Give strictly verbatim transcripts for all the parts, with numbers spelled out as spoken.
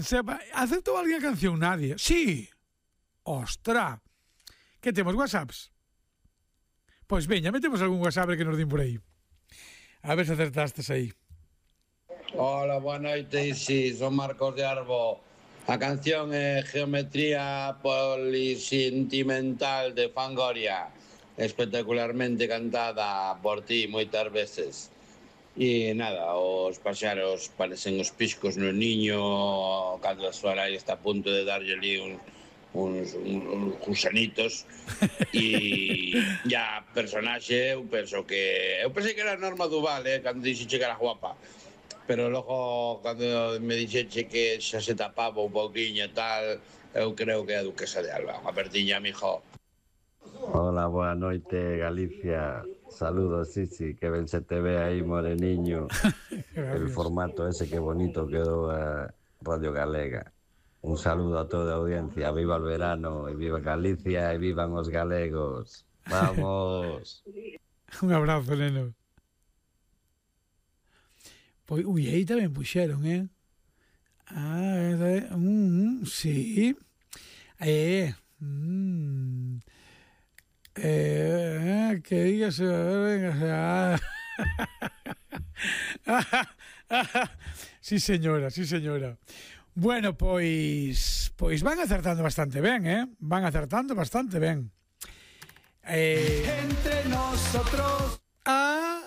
Sepa, ¿aceptou alguén a canción? Nadie. Sí. Ostra. Que temos WhatsApps? Pois veña, metemos algún WhatsApp que nos din por aí. A ver se acertastes aí. Hola, boa noite, sí, son Marcos de Arbo. A canción é Geometría Polisentimental de Fangoria, espectacularmente cantada por ti moitas veces. E nada, os paxaros parecen os piscos no niño cando a súa nai está a punto de darlle ali un, uns, uns gusanitos. E a personaxe, eu penso que eu pensei que era Norma Duval, eh, cando dixeche que era guapa, pero logo cando me dixeche que xa se tapaba un pouquiño e tal, eu creo que é a Duquesa de Alba. Unha perdiña, mijo. Hola, boa noite, Galicia. Saludos, Sisi, que ben se te ve aí, moreniño. El formato ese que bonito quedou a Radio Galega. Un saludo a toda a audiencia. Viva el verano, e viva Galicia, e vivan os galegos. Vamos. Un abrazo, neno. Pois, ui, aí tamén puxeron, eh? Ah, é, mm, sí. Eh, mm. Eh, que digas, venga, sí señora, sí señora. Bueno, pois pois van acertando bastante ben, eh? Van acertando bastante ben. Eh, entre nosotros a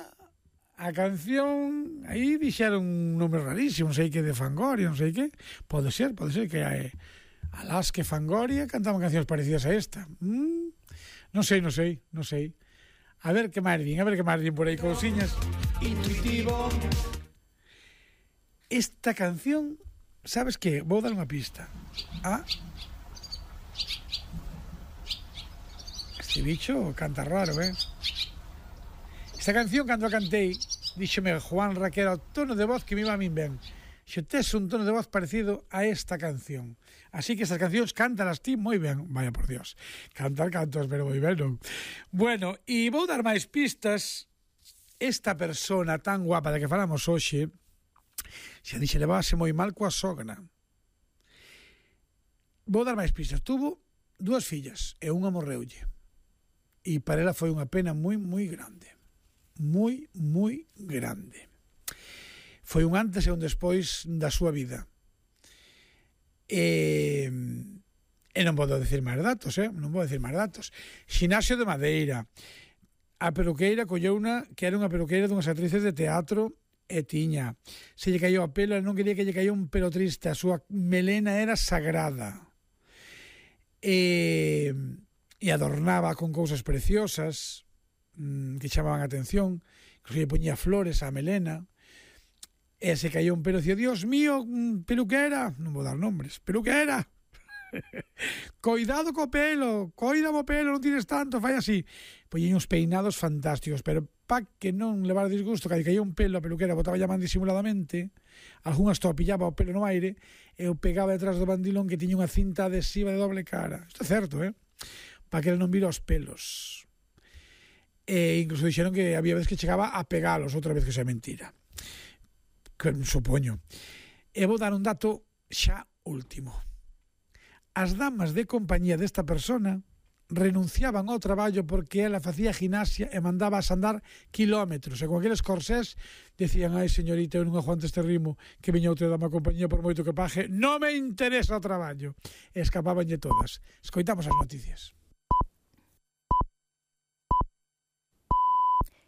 a canción aí dixeron un nome rarísimo, non sei que de Fangoria, non sei que. Pode ser, pode ser que hai alás que Fangoria cantaban cancións parecidas a esta. Mm. Non sei, non sei, non sei. A ver que máis din, a ver que máis din por aí cousiñas. Intuitivo. Esta canción, sabes que? Vou dar unha pista. Ah. Este bicho canta raro, eh? Esta canción, cando a cantei, díxome Juan Raquel ao tono de voz que me iba a min ben. Xe tes un tono de voz parecido a esta canción. Así que estas cancións cántalas ti moi ben. Vaya por Dios, cantar cantos, pero moi ben, non? Bueno, e vou dar máis pistas. Esta persona tan guapa da que falamos hoxe, xa dixe, levase moi mal coa sogra. Vou dar máis pistas. Tuvo dúas fillas e unha morreulle. E para ela foi unha pena moi, moi grande. Moi, moi grande. Foi un antes e un despois da súa vida. E, e non podo decir máis datos, eh? Non podo decir máis datos. Xinasio de Madeira. A peluqueira colleu unha que era unha peluqueira dunhas actrices de teatro e tiña. Se lle caiu a pelo, non quería que lle caiu un pelo triste. A súa melena era sagrada. E, e adornaba con cousas preciosas que chamaban a atención. Que lle poñía flores á melena. E se caiu un pelo, dicía, Dios mío, peluquera, non vou dar nombres, peluquera, coidado co pelo, coida o pelo, non tires tanto, fai así. Poñen uns peinados fantásticos, pero pa que non levar disgusto, que caiu un pelo, a peluquera botaba llaman disimuladamente, algunhas to pillaba o pelo no aire, e o pegaba detrás do bandilón que tiña unha cinta adhesiva de doble cara. Isto é certo, eh? Pa que ele non vira os pelos. E incluso dixeron que había veces que chegaba a pegalos, outra vez que xa é mentira. Que supoño. E vou dar un dato xa último. As damas de compañía desta persona renunciaban ao traballo porque ela facía gimnasia e mandaba a andar kilómetros, e con aqueles corsés decían, ai señorita, eu non aguanto este ritmo, que veña outra dama de compañía por moito que paje, non me interesa o traballo. E escapábanlle todas. Escoitamos as noticias.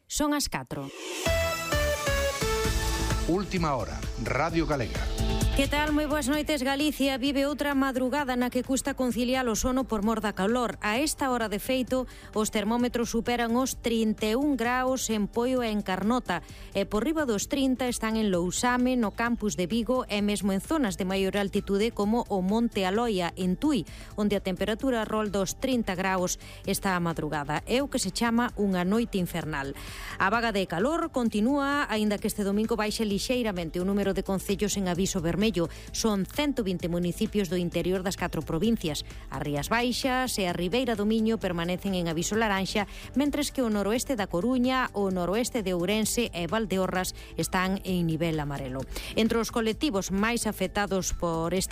Son as catro. Última hora, Radio Galega. Que tal? Moi boas noites. Galicia vive outra madrugada na que custa conciliar o sono por mor da calor. A esta hora de feito, os termómetros superan os trinta e un graus en Poio e en Carnota, e por riba dos trinta están en Lousame, no campus de Vigo e mesmo en zonas de maior altitude como o Monte Aloia, en Tui, onde a temperatura rolda os trinta graus esta madrugada. É o que se chama unha noite infernal. A vaga de calor continúa, aínda que este domingo baixe lixeiramente o número de concellos en aviso vermello. Son ciento vinte municipios do interior das catro provincias. As Rías Baixas e a Ribeira do Miño permanecen en aviso laranxa, mentres que o noroeste da Coruña, o noroeste de Ourense e Valdeorras están en nivel amarelo. Entre os colectivos máis afectados por esta